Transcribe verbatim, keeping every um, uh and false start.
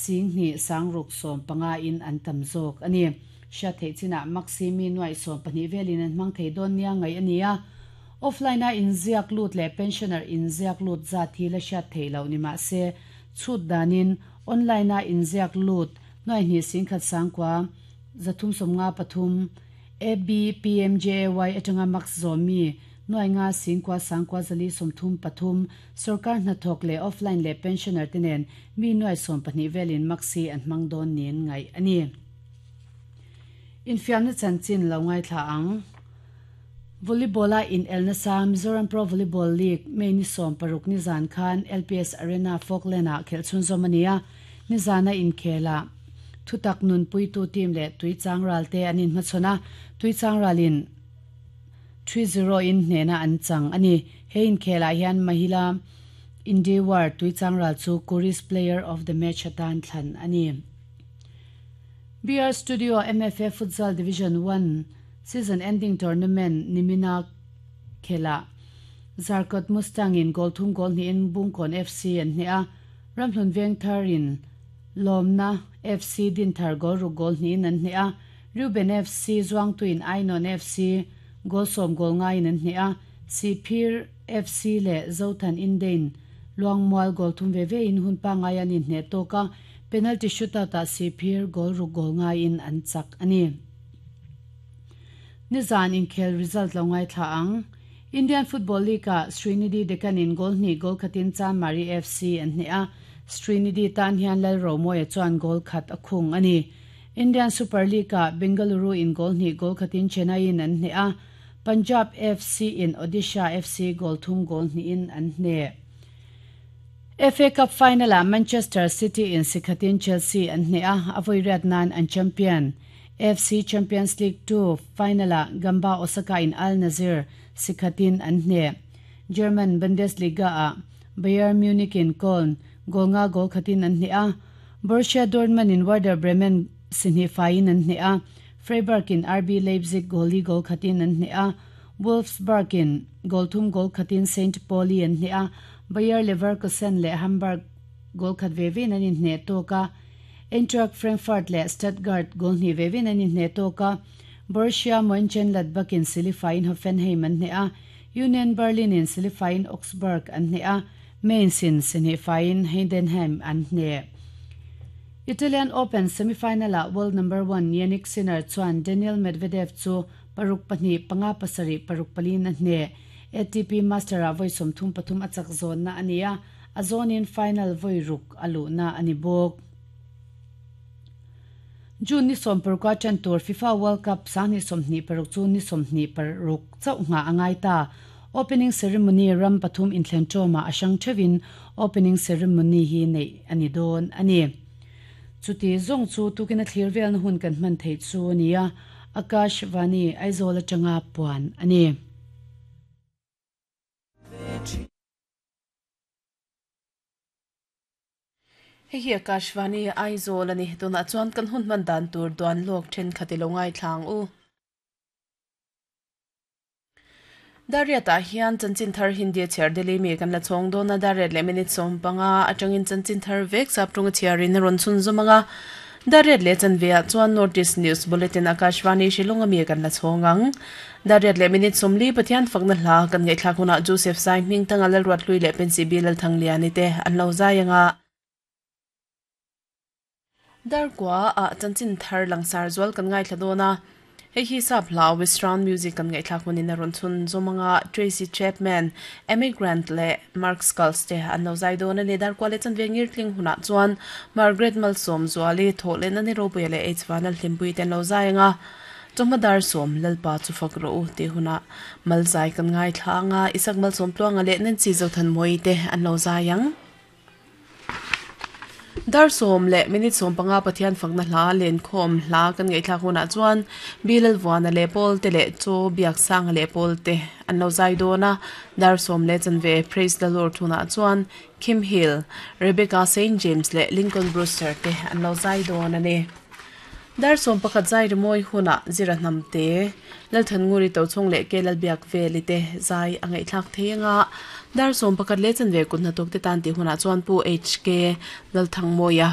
sing ni sangruk som panga in an tam zawk ani sha thei china maximi nuai som pahnih velin an hmang thei dawn nia ngai ania offline a in ziak lut le pensioner in ziak lut za thi la sha thei lo ni ma se chut danin online a in ziak lut nuai ni sing khat sangkwa zathum somnga pathum A B P M J A Y atanga max zomi nuai nga singkwa sangkwa zali somthum pathum sarkar na thok le offline le pensioner tenen mi nuai som pahnih velin maxi an hmang dawn nin ngai ani infiamna chanchin lo ngai thla ang volleyball a in El Nasa Mizoram Pro Volleyball League May ni som paruk ni zan khan L P S Arena Falkland a khelchun zomania ni zana in khela thutak nun pui tu team le tuichang ral te anin hmachona tuichang ralin three zero in hnena an chang ani he in khela hian mahila Indiwar tuichang ral chu Kuris player of the match atan thlan ani B R Studio M F A Futsal Division one season ending tournament nimina khela Zarkot Mustang in goal thum goal ni in Bungkon F C an hne a Ramhlun Veng Tharin Lomna F C din thar goal ru goal ni an hne a Ruben F C Zuang Tuin Ainon F C goal som goal nga in an hne a Sipir F C le Zothan Indein Luangmual goal thum ve ve in hun pa nga yan in hne toka penalty shootout a Sipir goal ru goal nga in an chak ani Nizan in khel result lo ngai thla ang Indian Football League a Srinidhi Deccan in goal ni goal khatin Chanmari F C an hne a Srinidhi tan hian lal romoya chuan goal khat a khung ani Indian Super League a Bengaluru in goal ni goal khatin Chennai in an hne a Punjab F C in Odisha F C goal thum goal ni in an hne F A Cup final a Manchester City in sikhatin Chelsea an hne a avoi riat nan an champion F C Champions League two final a Gamba Osaka in Al Nazir sikhatin an hne German Bundesliga a Bayern Munich in Köln goal nga goal khatin an hne a Borussia Dortmund in Werder Bremen sinhi fain an hne a Freiburg in R B Leipzig goal li goal khatin an hne a Wolfsburg in goal thum goal khatin Saint Pauli an hne a Bayer Leverkusen le Hamburg goal khat ve ve an in hne toka Eintracht Frankfurt le Stuttgart goal ni ve ve an in hne toka Borussia Mönchengladbach in silifain Hoffenheim an hne a Union Berlin in silifain Augsburg an hne a Mainz in sinifain Heidenheim an hne Italian Open semifinal a world number one Yannick Sinner chuan Daniel Medvedev chu paruk pahnih panga pasarih paruk pali na hne A T P Master a voi som thum pathum achak zone na ania a zone in final voi ruk alu na ani bok June ni som parukwa chan tur FIFA World Cup sang ni som ni paruk chu ni som ni paruk chau nga angai ta opening ceremony ram pathum in thlen choma asang thewin opening ceremony hi nei ani don ani chuti zong chu tukina thlir vel na hun kan man thei chu ania Akash Vani Aizawl atanga puan ani Hei hi Akashvani Aizawl ani tuna chuan kan hun man dan tur duan lok then khatilo ngai thlang u Dariata hian chanchin thar Hindi chair Delhi mi kan la chong dona dariat le minute som panga atangin chanchin thar vek sap tung chiarin ron chun zomanga dariat le chanvea chuan Northeast News Bulletin Akashvani Shillong ami kan la chongang dariat le minute som li pathian fakna hla kan ngai thla khuna Joseph Sai ming tanga lal ruat lui le pensi bilal thangliani te an lo zayanga darkwa a chanchin thar langsar zual kan ngai thla dona hei hi sap hla Western music kan ngai thla khunin ron chun zomanga Tracy Chapman, Amy Grant le Mark Skulls te an lo zai dona ne darkwa le chanvengir tling huna chuan Margaret Malsom zuali thole na ni robuya le H vanal hlimpui ten lo zai anga chawhma som lalpa chu fak ro u te huna malzai kan ngai thla anga isak malsom tluanga le nan chi zo than moi te an lo zai ang dar som le minute som panga pathian fakna hla len khom hla kan ngai thla khuna chuan bilal wana le pol te le cho biak sang le pol te an lo zai dona dar som le chanve praise the Lord thuna chuan Kim Hill, Rebecca Saint James le Lincoln Brewster te an lo zai dona ne dar som pakhat zai rimoi huna zira nam te lal than nguri to chung le ke lal biak veli te zai angai thlak theinga dar som pakhat le chanve kun na tok te tan ti huna chuan pu H K lal thang moya